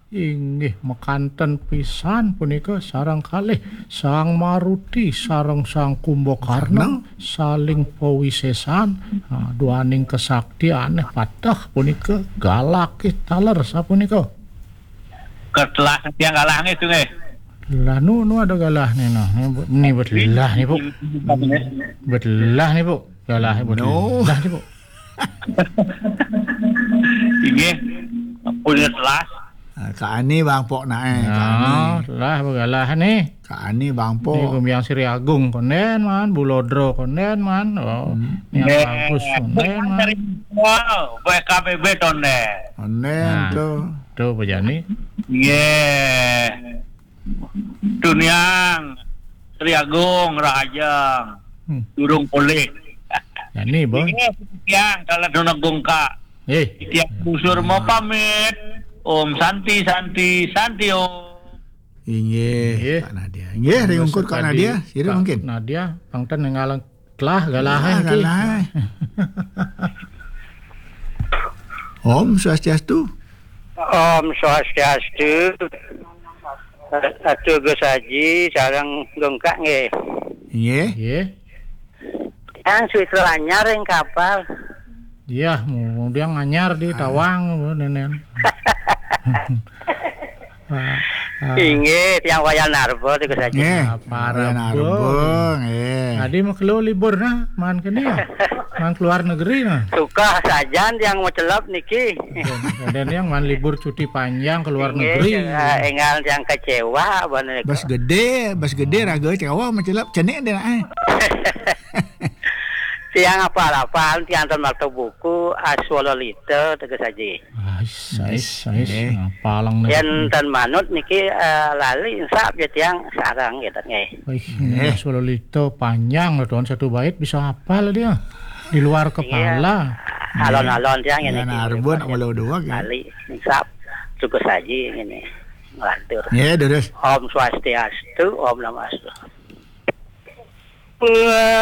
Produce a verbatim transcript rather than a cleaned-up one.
Inggih, makanten pisan punika sareng kalih Sang Maruti sareng Sang Kumbakarna saling pawisesan, ah, duaning kesaktiané pateh punika galakih taler sapunika. Ketelah tiang galah nggih, Sugih. Lah, nu, nu ada galah nih, nah. Ini bu-, ini betelah nih, Bu. Betelah nih, Bu. Galah, Bu. No. Betelah nih, Bu. Inggih. Punya telas. Ah, Kak Ani Bangpok naé, Kak Ani. Nah, lah, Bu, galah nih. Kak Ani Bangpok. Ini Gumbiang Sri Agung konden, man. Bulodro konden, man. Oh, Hmm. Niang Eh, Bagus konden, man. Dari Wow, B K B B tonden. Konden Nah. tuh. Tuh, Pak Jani. Nggih. Tuniang, Sri Agung, Rahajeng. Hmm. Durung pulih. Jani, Boy. Nggih, tiang, kalau nunung gungka. Eh. Tiang busur mau pamit. Om Santi, Santi, Santi, Om. Inggih, Inggih. Kak Nadia. Inggih, ring ungkur Kak Nadia. Sira Kak mungkin. Nadia, pangten ngalang telah galah Ah, ki. galah. Om Swastiastu. Om Swastiastu. Atuh Gus Haji, sareng gungka nggih. Nggih. Nggih. Yang suit lanyar yang kapal. Iya, mau dia nganyar di Ah. Tawang, nenen. Ah, ah. Inggih, tiang wayah narba, Gus Haji. Nggih. Apa Wayah narba? narba, nggih. Tadi mau keluar libur nah, man kene ya? Man keluar negeri nah. Suka sajan tiang mau celep niki. Dan, dan yang man libur cuti panjang ke luar Inggih, negeri. eh, enggal tiang kecewa, bener. Bas gede, bas gede raga kecewa mau celep cenik deh, eh. Tiang apal-apal, tiang ten maca buku, Aswala Lita, Teges Aji. Ais, ais, ais. Eh. Apalang nih. Yen ten manut niki, eh, lali, insap ya tiang sarang gitu, nggih. Wih, Eh. Aswala Lita panjang loh, Tuan. Satu bait bisa hafal dia. Di luar Iya. kepala. Alon-alon tiang ini. Nah, Arbon, Mas, Amalo Dua, ya. Lali, insap, Teges Aji ini. Ngelantur. Ya, terus. Om Swastiastu, Om Namastu.